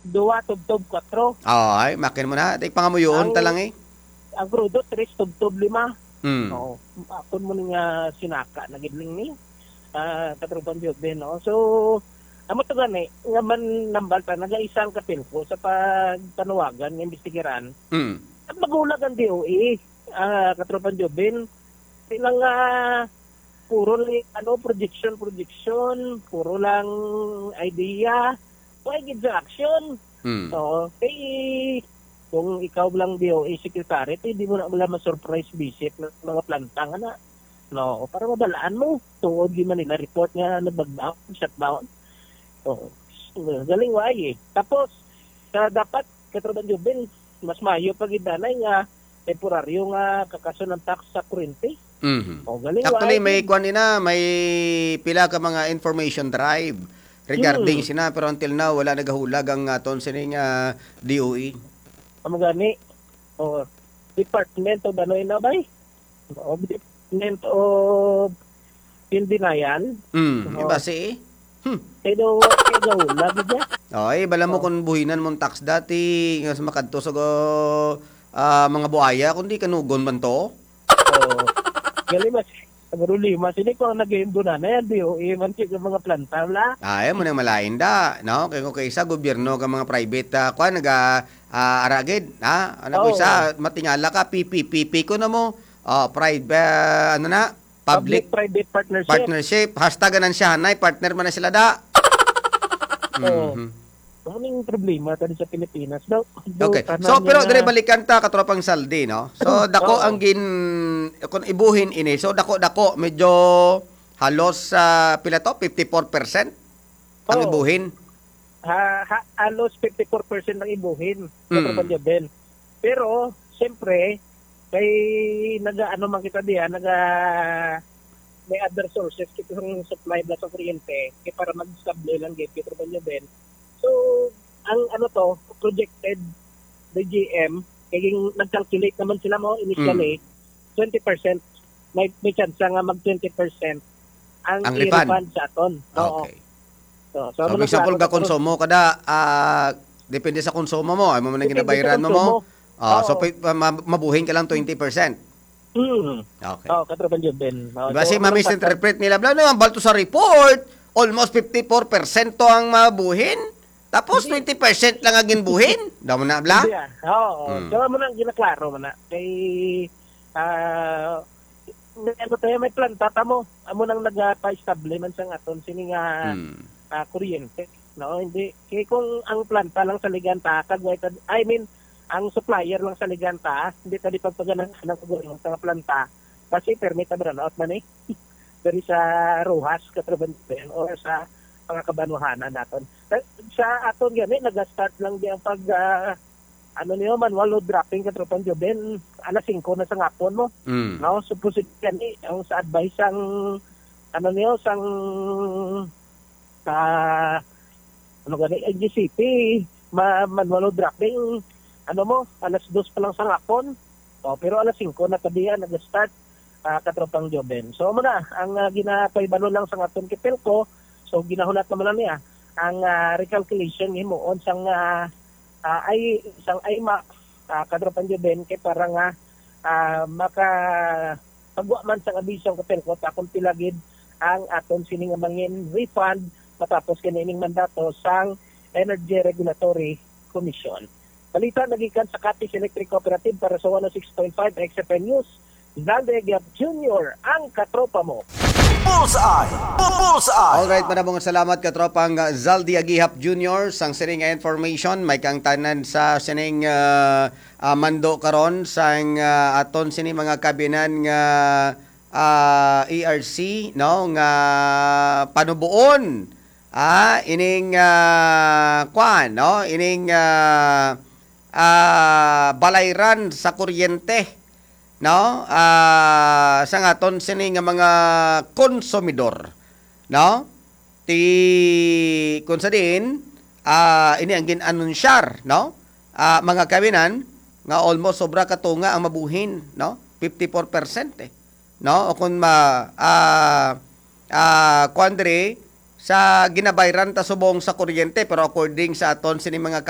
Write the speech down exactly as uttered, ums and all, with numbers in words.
Dua tubtob kwatro. Oh, ay, makin mo na. Tay pangamuyoon ta Ang lang eh. Ang krudo, tres tubtob lima. Mm. Oo. Akon mo nga sinaka na gid ning ni, ah, Katropang Joven, no? So, amo to gani, nga man nambal ta, nagaisa ang Kapelco sa pagpanawagan nga imbestigaran. Mm. At magulag ang D O E, ah, Katropang Joven. Sila nga, puro lang, ano, projection, projection, puro lang idea. Why gid sa action? Mm. Oo. Kay, kung ikaw lang D O E secretary, pwede mo na wala ma-surprise visit ng mga planta nga na. No, para mabalaan mo. Tuod di man nila report nga nag-lockdown, shutdown. Oo. Galing why eh. Tapos, sa dapat, Katropang Joven, mas mayo pa gid anay nga temporaryo nga kakason ang tax sa kuryente. Mhm. O, galing Actually, why may gid. Kwan ina, may pila ka mga information drive regarding Hmm. sina, pero until now, wala nagahulag ang aton sining, ah, D O E. Amo gani. O, Department of ano ina, bay? O, Department of in denial. Mm, Oo. Iba si Hmm. Kay daw, kay daw, lagi dyan. Oy, bala mo Oh. kung buhinan mong tax dati, nga sa makadto sa go, ah, mga buaya, kung di kanugon man to. Oo. Gali mas, ang problema, sini ko ang nag-indo na, na yan, D O E, man, sa mga planta, wala. Ay, mo nang malain da, no? Kay kung kaysa gobyerno ka mga private, ah, kwan, naga, ah, aragid, ha? Ano ko Oo. isa, matingala ka, P P P P ko na mo. Oh, private, ah, ano na? Public Public-private partnership. partnership. Hasta ganansyahanay, partner man na sila da. Oo. Mhm. Ano ning problema tani sa Pilipinas? Daw, daw Okay. tanan So, pero niya dire na balikan ta, katropang Saldi, no? So, dako Oo. ang gin-, kung ibuhin ini. So, dako-dako, medyo halos, ah, pila to? Fifty-four percent ang Oo. ibuhin? Ha, ha, halos fifty-four percent ang ibuhin, Mm. Katropang Joven. Pero, siyempre, kay naga-, ano man kita diyan, naga-, may other sources kita ng supply ba sa kuryente, kay para mag-stable lang gid, Katropang Joven. So, ang ano to, projected, the G M, kay ging-, nag-calculate naman sila mo initially, Mm. twenty percent, may, may chance nga mag twenty percent ang Ang refund? i-refund sa aton. Oo. Okay. So, so, So, ano for example, na, ga konsumo ka da, ah, depende sa konsumo mo, ay mo man ang Depende sa ginabayaran mo mo. konsumo. Ah, so, Oo. pi-, ma-, mabuhin ka lang twenty percent. Mm. Okay. Oh, Katropang Joven. Oh, Diba so, si ano Mami sa interpret nila, bla, na, balto sa report, almost fifty-four percent to ang mabuhin, tapos Hindi. twenty percent lang ang ginbuhin. Daw mo na, bla? Hindi, ah. Oo, oo. Mm. So, amo na ang ginaklaro mo na. Kay, ah, may, ano tayo, may planta ta mo. Amo nang nagapa-estable man sa aton, sini nga, Mm. ah, kuryente. No, hindi. Kay kung ang planta lang sa Liganta, kag wala ta-, I mean, ang supplier lang sa Liganta, hindi ta di pagpaganahan ng gobyerno sa planta. Kasi permit na brownout man eh. Diri sa Roxas, Katropang Joven, or sa mga kabanwahanan naton. Sa, sa aton gani, nag-start lang di ang pag, ah, ano niyo, manual load dropping, Katropang Joven, alas singko na sa ngapon mo. Mm. No, supposedly gani, ang sa advice sang, ano niyo, sang, sa, ano gani, N G C P, ma-, manual load dropping, ano mo, alas dos pa lang sa ngapon. Oh, pero alas singko na tabihan, nag-start, ah, Katropang Joven. So, amo na, ang, ah, ginapahibalo lang sa aton Kapelco, so, ginahulat naman na niya, ang, ah, recalculation himuon sang, ah, ah, ay, sang I MAC, ah, Katropang Joven, kay para nga, ah, maka-, pagwa man sang abiso ang Kapelco, ta kung pila gid ang aton sini nga mangin refund matapos kanining mandato sang Energy Regulatory Commission. Balita nagikan sa Capiz Electric Cooperative para sa one oh six point five X F M News. Zalde Aguiap Junior, ang katropa mo. Bullseye! Bu-, Bullseye! Alright, maraming salamat, katropang, uh, Zaldi Agihap Junior. Sang sining nga information, may kang tanan sa sining, uh, uh, mando karon sang, uh, aton sini mga kabinan nga, uh, E R C, no, nga panubuon, ah, ining, uh, kwan, no, ining, uh, ah, balayran sa kuryente, no? Ah, sa aton sini nga mga konsumidor, no? Ti, kung sa diin, ah, ini ang gin-anunsyar, no? Ah, mga kawinan, nga almost sobra ka tunga ang mabuhin, no? Fifty-four percent, eh. No? O kung ma-, ah, ah, kuwan diri, sa ginabayran ta subong sa kuryente, pero according sa aton sini mga